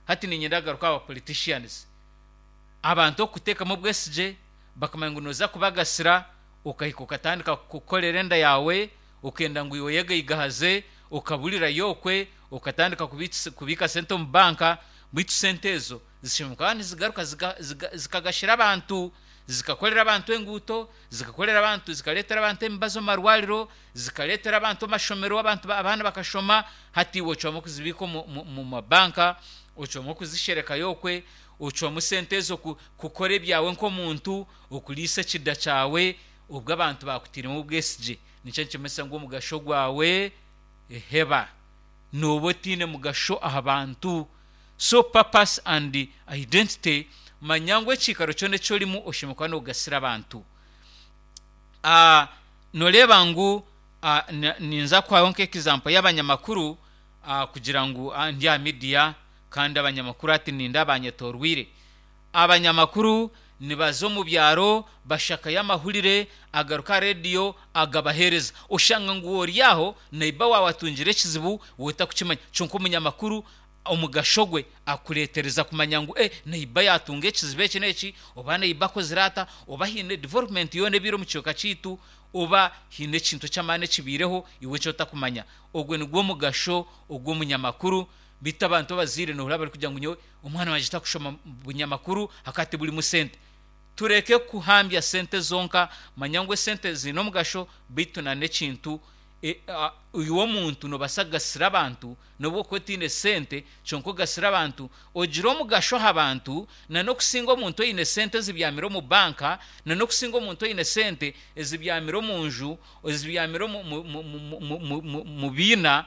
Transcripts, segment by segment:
Hati niinyenda kugaruka aha ba politicians. Abantu okukuteekamu obwesigye bakamanya ngu nooza kubagasira, okahika okatandika kukorera enda yaawe, okenda ngu iwe oyegaigahaze, okaburirayo okwe, okatandika kubiika sente omu banka, beitu sente ezo zishemereire kuba nizigaruka zikagashira abantu, zikakorera abantu enguuto, zikakorera abantu, zikareetera abantu emibazi omu marwariro, zikareetera abantu amashomero abantu abaana bakashoma, hati iwe ocwamu kuzibiika omu mabanka, ocwamu kuzisherekayo okwe, ocwamu sente ezo kukora ebyawe nk'omuntu, okuriisa ekida kyawe, obwo abantu baakutairemu obwesigye. Nikyo nikimanyisa ngu omugasho gwawe heba. Nooba otaine mugasho aha bantu. So purpose and identity, manya ngu ekiikaro kyona eki orimu oshemereire kuba noogasira abantu. Nooreeba ngu ninza kuhaho nk'example y'abanyamakuru kugira ngu ndi aha media kandi abanyamakuru hati nindeeba banyetooroire. Abanyamakuru nibaza omu byaro bashakayo amahurire agaruka aha rediyo agabaheereza. Oshanga ngu ori aho neiba waawe atungire ekizibu iwe otarikukimanya kwonka omunyamakuru omugasho gwe akureetereza kumanya ngu eh neiba yaatunga ekizibu eki n'eki oba neiba akozire ata oba haine development yoona ebaire omu kicweka kyaitu oba haine ekintu eky'amaani ekibaireho iwe eki otakumanya. Ogwo nigwo mugasho ogw'omunyamakuru. Beitu abantu abazaire noohurira barikugira ngu nyowe omwana wangye takushoma bunyamakuru ahakuba tiburimu sente. Tureke kuhambya sente zonka, manya ngu esente ziine omugasho beitu na n'ekintu iwe omuntu noobaasa kugasira abantu n'obu okuba otaine sente kyonka ogasire abantu, ogire omugasho aha bantu na n'okusinga omuntu oine sente ezibyamire omu banka na n'okusinga omuntu oine sente ezibyamire omu nju, ezibyamire omu biina.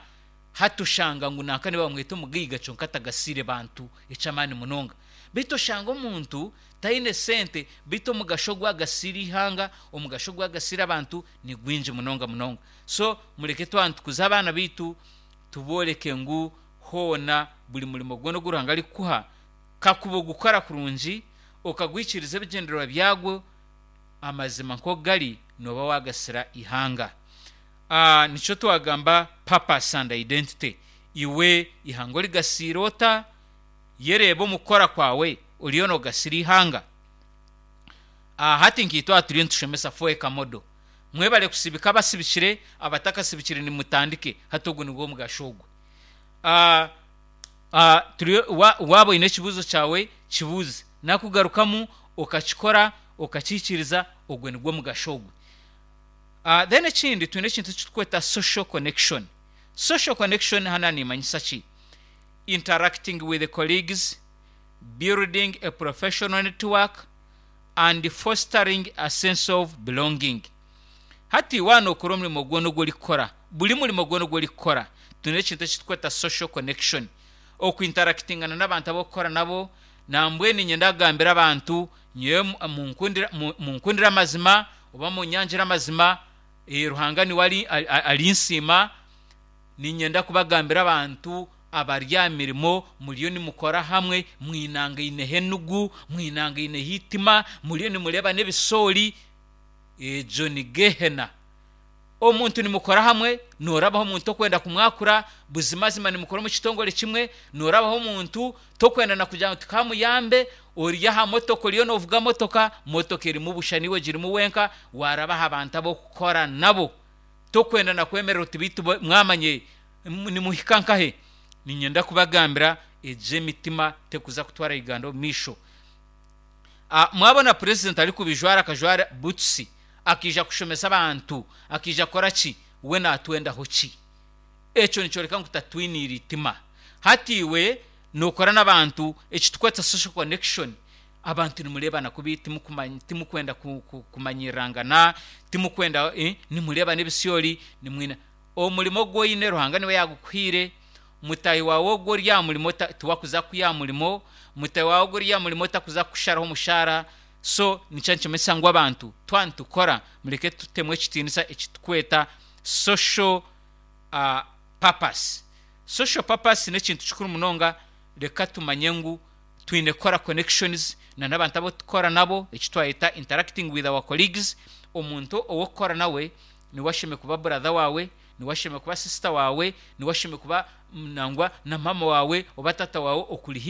Hati oshanga ngu nanka nibamweta omugaiga kyonka atagasiire bantu eky'amaani munonga. Beitu oshanga omuntu taine sente beitu omugasho ogu agasiire eihanga, omugasho ogu agasiire abantu ni gwingi munonga munonga. So mureke twaba nitukuza abaana baitu tubooreke ngu hoona buri murimo gwona ogu Ruhanga arikukuha kakuba ogukora kurungi, okaguhikiiriza ebigyendererwa byagwo, amazima nk'oku gari nooba waagasira eihanga. Nikyo twagamba purpose and identity. Iwe eihanga origasiire ota? Yereebe omu kukora kwawe oriyo noogasira eihanga? Hati nkaitwe aha turiyo nitushomesa FOECA model. Mwebare kusibika abasibikire, abatakasibikire nimutandike. Hati ogu nigwo omugasho ogwe. Waaba oine ekibuuzo kyawe, kibuuze. Nakugarukamu okakikora, okakihikiiriza, ogwo nigwo mugasho ogwe. Then ekindi twine ekintu eki turikweta social connection. Social connection hanu nimanyisa ki? Interacting with colleagues, building a professional network and fostering a sense of belonging. Hati waaba nookora omurimo gwona ogu orikukora, buri murimo gwona ogu orikukora, twine ekintu eki turikweta social connection. Okwintarakitingana n'abantu abu orikukora nabo, nambwenu niinyenda kugambira abantu nyowe munkundire amazima oba munyangire amazima, Ruhanga niwe arinsiima, niinyenda kubagambira abantu abari aha mirimo muriyo nimukora hamwe, mwinangaineho enugu, mwinangaineho eitima, muriyo nimureeba n'ebisoori, egyo ni gehena. Omuntu nimukora hamwe, noorabaho omuntu tokwenda kumwakura, buzimazima nimukora omu kitongore kimwe, noorabaho omuntu tokwenda na kugira ngu tikamuyambe, ori aha motoka oriyo noovuga motoka, motoka erimu busha naiwe ogirimu wenka, waaraba aha bantu abu orikukora nabo, tokwenda na kwemerera oti beitu mwamanya nimuhika nkahe? Niinyenda kubagambira egyo emitima tekuza kutwara Uganda omu maisho. Mwabona purezidenti arikubijwara akajwara butusi akaija kushomesa abantu, akaija kukora ki? We naatwendaho ki? Ekyo nikyoreka ngu tatwiniire eitima. Hati iwe nookora n'abantu eki turikweta social connection, abantu nimureebana kubi, timukwenda kumanyirirangana, timukwenda, nimureebana ebisyoori, nimwine omurimo ogu oine Ruhanga niwe yaagukuhaire, mutaahi waawe ogu ori aha murimo tiwe akuza kukwiha aha murimo, mutaahi waawe ogu ori aha murimo takuza kukusharaho omushaara, so nikyo nikimanyisa ngu abantu twaba nitukora mureke tutemu ekitiinisa eki turikweta social purpose. Social purpose n'ekintu kikuru munonga, reka tumanye ngu twine kukora connections na n'abantu abu turikukora nabo, eki twayeta interacting with our colleagues, omuntu ou orikukora nawe niwe ashemereire kuba brother waawe, niwe ashemereire kuba sister waawe, niwe ashemereire kuba nangwa na maama waawe oba taata waawe okuri haihi.